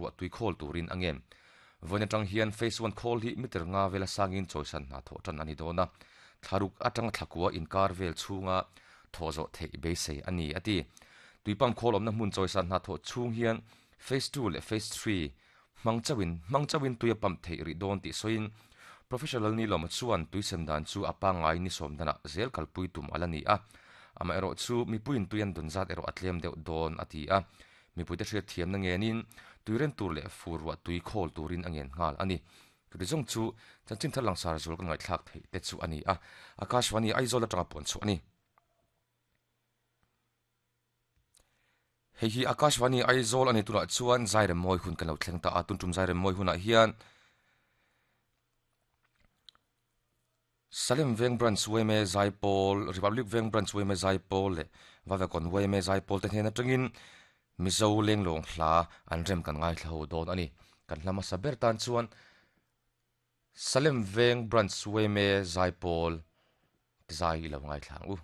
ruah tui khawl turin a ngen. Vawiin atang hian Phase One khawl hi meter nga vela sangin chawisan hna thawh tan a ni dawn a, thlaruk atanga thlakua inkar vel chhunga thawh zawh theih beisei a ni, a ti. Tui pump khawl awmna hmun chawisan hna thawh chhung hian Phase Two leh Phase Three hmang chauhin hmang chauhin tui a pump theih rih dawn tih sawiin Professor Lalnilawma chuan tui sem dan chu a pangngai ni sawm danah zel kalpui tum a la ni a, amaherawhchu mipuiin tui an dawn zat erawh a tlem deuh dawn, a ti a. Mipuite hriat thiamna ngenin tui ren tur leh fur ruah tui khawl turin a ngen nghal a ni. Chuti zawng chu chanchin thar langsar zual kan ngaihthlak theih te chu a ni a, Akashvani Aizawl atanga puan chhuah a ni. Hei hi Akashvani Aizawl a ni tunah chuan Zairem mawi hun kan lo thleng ta a, tun tum Zairem mawi hunah hian Salem Veng Branch yma Zaipawl, Republic Veng Branch yma Zaipawl leh Vavekon yma Zaipawl te hnen atangin Mizo lenglawng hla an rem kan ngaithla ho dawn a ni. Kan hla hmasa ber tan chuan Salem Veng Branch yma Zaipawl ti zai i lo ngaithla ang u.